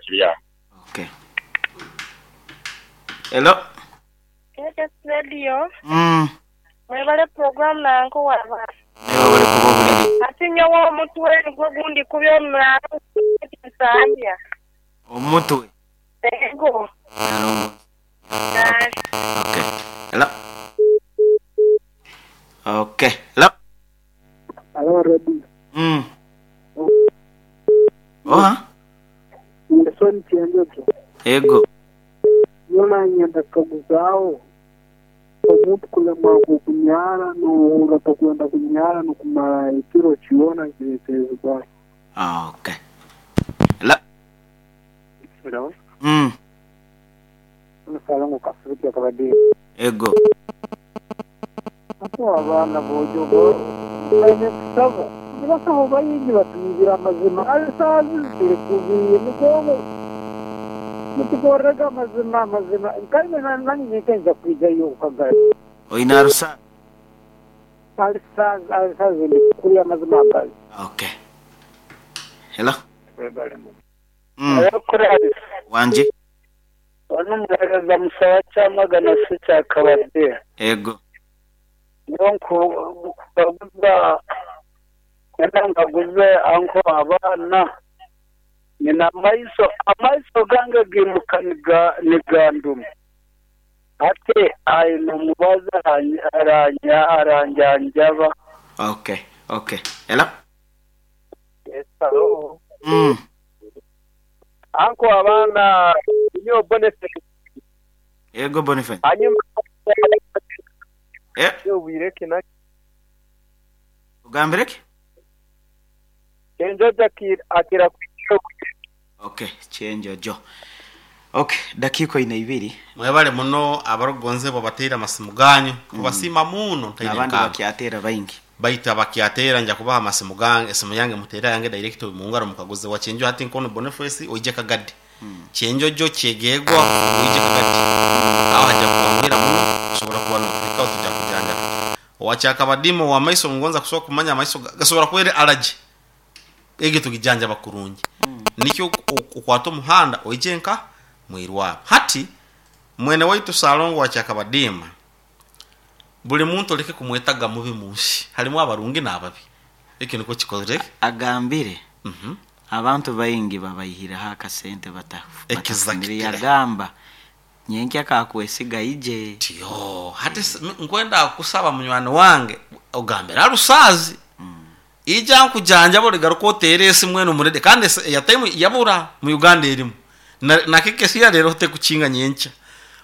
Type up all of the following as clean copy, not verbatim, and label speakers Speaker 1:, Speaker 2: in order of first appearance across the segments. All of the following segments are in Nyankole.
Speaker 1: kibyama.
Speaker 2: Okay. Hello.
Speaker 3: KS Radio
Speaker 2: Mm.
Speaker 3: mwebale program nanka owaba.
Speaker 2: Naye webale kuba obuliri.
Speaker 3: Ati nyowe omutwe nigwo gundikubya omuraro Nsambya.
Speaker 2: Omutwe.
Speaker 3: Ego.
Speaker 2: Nalongo. Okay. Hello. Okay. Hello.
Speaker 4: Hello, Radio.
Speaker 2: Oha?
Speaker 4: Nelson Kyenjojo.
Speaker 2: Ego.
Speaker 4: Yoona nyenda kukaguzaaho omuntu kulemwa kunyara nohurra tokwenda kunyara nokumara ekiro kyona nikireterezibwa ki?
Speaker 2: Okay. Hello.
Speaker 4: Hello.
Speaker 2: Mm.
Speaker 4: Omusaala Kasuuti akabadde.
Speaker 2: Ego.
Speaker 4: Ate abaana boojo baine kusaba nibasaba bayingi batuyigira amazima alisaazi ziri kubiire emigongo mutukorerega amazima amazima nkaine nanye nkenza kwijayo okukagara
Speaker 2: Oina arusa.
Speaker 4: alisaazi alisaazi ndi kuri amazima agazi.
Speaker 2: Okay. Hello. Mm. Wanje.
Speaker 4: Ono muhereza musaba kyamagana si kyakabadde.
Speaker 2: Ego.
Speaker 4: Niyo nkubaguza era nkaguze anko abaana nina amaiso amaiso gange gimuka niganduma ate aine omubazi aranjanjaba.
Speaker 2: Okay. Okay. Hello.
Speaker 4: Yes, hello.
Speaker 2: Mm.
Speaker 4: Anko abaana niyo Boniface.
Speaker 2: Ego Boniface.
Speaker 4: Hanyuma
Speaker 2: Eh,
Speaker 4: wireke na
Speaker 2: ugambire ki?
Speaker 4: Kenjojo akira kwikiro.
Speaker 2: Okay, Kyenjojo. Okay, dakika ina ibiri.
Speaker 5: Mwebale muno abarugonzebwa bateire amasimu ganyu kubasiima muno ntaine
Speaker 2: Abandi
Speaker 5: nkamba.
Speaker 2: bakyatera baingi.
Speaker 5: Baitu abakyatera nja kubaha amasimu gange, esimu yange muteera yange direct mungaro mukaguze wa Kyenjo hati nkono Boniface oije Kagadi. Kyenjojo kyegegwa oije Kagadi. Aho haja kuwangwira muno usobora kuba nokufika tujja kujanja. Owakyakabadimo wa maiso ngonza kusobola kumanya amaiso gasobora kwere allergy. Ege tugijanja bakurungi. Nikyo okwata omuhanda oije nka mwirwaro. Hati mwene waitu Salongo wa Kyakabadima buli muntu oleke kumwetaga mubi munsi halimu abarungi n'ababi eki niko kikozire.
Speaker 2: Agambire.
Speaker 5: Mhm.
Speaker 2: Abantu baingi babayihiraho akasente
Speaker 5: Exactly.
Speaker 2: batafunire yagamba nyenkya kakwesiga ije.
Speaker 5: Tiyo hati nkwenda kusaba munywani wange ogambira arusazi ija nkujanja boligaruka oteere esimu eno murede kandi eyataimu yabura mu Uganda erimu nakekesiya rero tekukinga nyenkya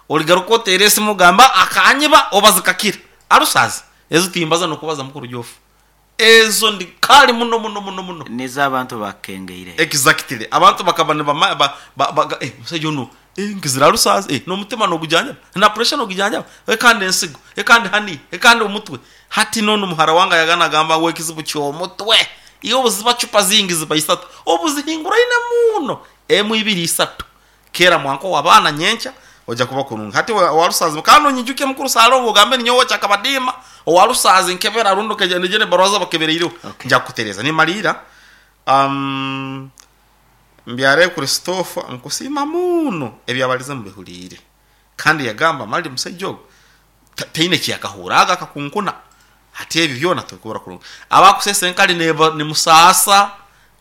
Speaker 5: oligaruka oteere esimu ogamba akanyiba obazikakira arusazi ezo timbaza nokubaza mukuru jofu ezo ndi kali muno muno muno muno
Speaker 2: Nizo abantu bakengeire.
Speaker 5: Exactly abantu bakaba nibama ba, ba, ba, eh musajja ono eh nkizira arusazi eh n'omutima n'ogujanja na pressure n'ogujanja eh kandi ensigo eh kandi hani eh kandi omutwe hati nono muhara wanga yagana gamba we kizibu ky'omutwe iyo obuziba chupa zingi ziba isatu obuzihingura ine muno emu ibiri isatu kera mwanko wabana nyencha oja kuba kurungi hati warusazi kandi onyijuke mukuru Salongo ogambe ninyowe kyakabadima owarusazi nkebera rundo keje nijene barwaza bakebereireho.
Speaker 2: Okay.
Speaker 5: Nja kutereza nimalira mbyare Christopher nkusima muno ebyabalize mubihulire kandi yagamba mali musajja ogwo taine kyakahuraga akakunkuna hati ebyo byona tukubura kurungi abakusesa enkali neba ni musasa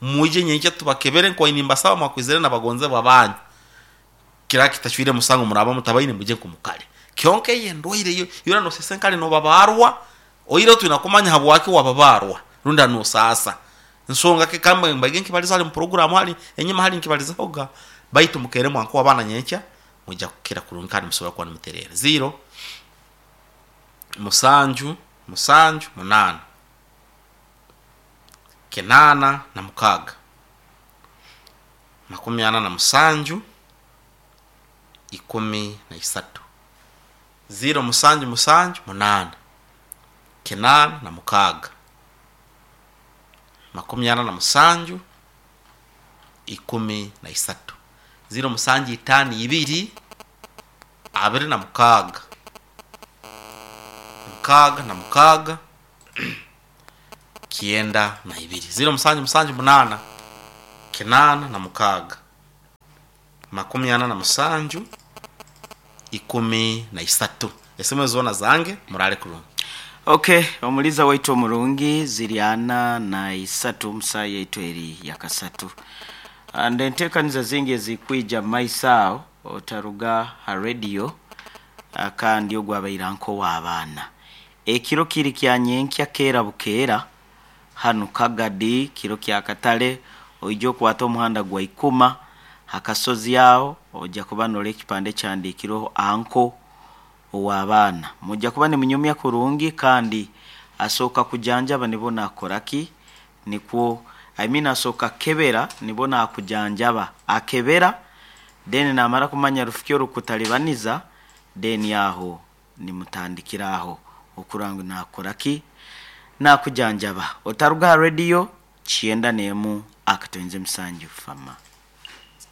Speaker 5: muje nyenke tubakebere nkoini mbasaba mwakwizere nabagonze babanyu kira kitachwire musango muraba mutabaine muje kumukale kyonke ye ndwaire yo yura no sesa enkali no babarwa oire tunakumanya habwaki wababarwa runda no sasa nsonga ke kamba mbage nkibaliza ali mu program hali enyuma hali nkibaliza hoga baitu mukere mwanko abana nyencha muja kukira kurungi kandi musobora kuba nimuterera 0 musanju musanju 8 9 na 6 47 13 0 musanju musanju 8 9 na 6 47 13 0 musanju 5 2 26 6 na 6 92 0 musanju musanju 8 9 na 6 47 13. Esimu ezo zoona zange, muraale kurungi.
Speaker 2: Okay, omuliza waitu omurungi ziri 43 omu saaha yaitu eri yakasatu. And enteekaniza zingi ezikwija mu maiso aho otaruga ha radio kandi ogwabaire nk'ow'abaana. Ekiro kiri kya nyenkya keera bukeera hanu Kagadi kiro kya katale oije okwate omuhanda gwa Ikuma ha kasozi aho oija kuba norora ekipande ekihandiikirweho Anko ow'abaana. Mwija kuba nimunyumya kurungi kandi asooka kujanjaba nibwo nakora ki? Nikwo I mean asooka kukebera nibwo nakujanjaba. Akebera then namara kumanya rufu ki orukutaribaniza then aho nimutandikira aho okurora ngu nakora ki? Nakujanjaba. Otaruga aha radio 91.7 Fama.